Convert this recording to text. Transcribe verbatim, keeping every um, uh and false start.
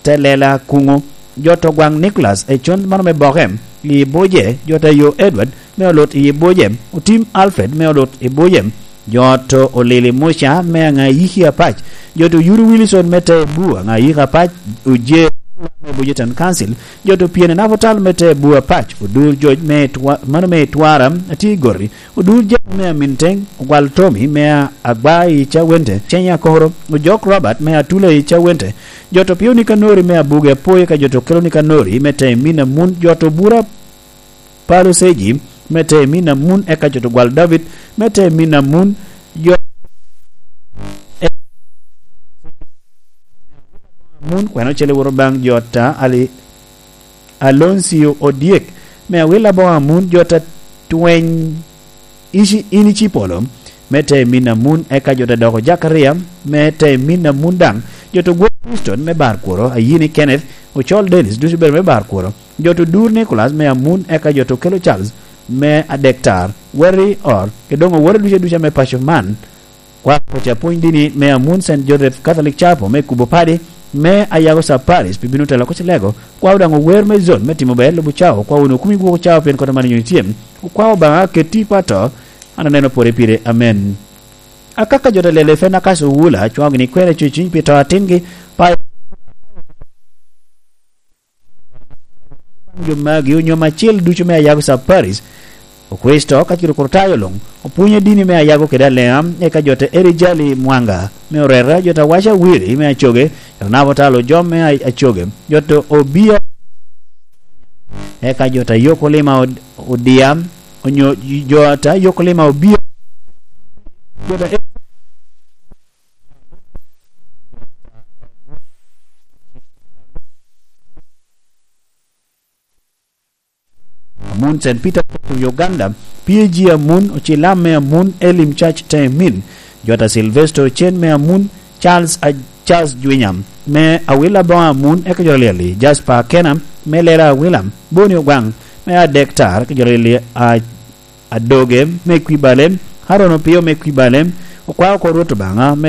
te lela kuŋo, jot ogwaŋ Nicholas Econ mano me Boke i Buje, jot ayo Edward me Olut i Buje, Otim Alfred me Olut i Buje, jot Olili Muca me Aŋayiki Apac, jot Oyuru Wilson me te Bu Aŋayiki Apac, Oje me Buje Town Council, jot Opyene Nabutal me te Bu Apac, Odur Joc me Twa-, mano me Twara, Ati Gori, Odur Jami me Aminteng, Ogwal Tomi me Agba i Cawente, Cenya Koro, Ojok Robert me Atula i Cawente, jot Opio Nikanori me Abuge Apoye ka jot Okelo Nikanori me te Mina Mun, jot Obura Palo Seji me te Mina Mun, eka jot Ogwal David me te Mina Mun, jot Amun, kwene ocele woro baŋ jot a Ali Aloncio Odyek, me awil aboŋo Amun, jot a Tweny Ici-, in Icipolo, me te Mina Mun, eka jot a Doko Jakaria, me te Mina Mun daŋ, jot Ogwok Houston me Bar Kworo, Ayini Kenneth, Ocol Dennis, ducu bedo me Bar Kworo, jot Odur Nicholas me Amun, eka jot Okelo Charles me Adektar, Weri Or, Edongo Woro ducu ducu me paco man, Kwao pwony dini me Amun Saint Joseph Catholic Chapel me kubo padi me Ayago Sub Parish pi bino telo kocilego. Kwao daŋ ower me zon me timo ber lubo cao. Kwao wunu kumi gwoko cao pien kota man nyuno tye. Okwao Obaŋa keti pato, an aneno pore pire. Amen. Akaka jo ta lele fe na kaso wula, cwaŋo gini kwena cuciny pi to atingi, pa jo magi onyo macil ducu me Ayago Sub Parish, Okricito kacel Okrutayo luŋ, opwonyo dini me Ayago kede Alea, eka jo ta Eri Jali Mwanga me Orera, jo ta Waca Wiri me Acoge, jo ta Nabo Talo Jom me A-, Acoge, jo ta Obia, eka jo ta Yokolima Od-, Odia, onyo jo ta Yokolima Obia, jo ta Amun Saint Peter Church of Uganda, P A G Amun, Ocilam me Amun, Elim Church Temin, Jota Sylvester Ochen me Amun, Charles A-, Charles Jwinya me Awila Boŋo Amun, eka Jota Lyeli, Jasper Akena me Lera Awila, Boni Ogwaŋ me Adektar, eka Jota Lyeli a-, Adoge me Kwibale, Haron Opio me Kwibale, okwao oko Rwot Obaŋa me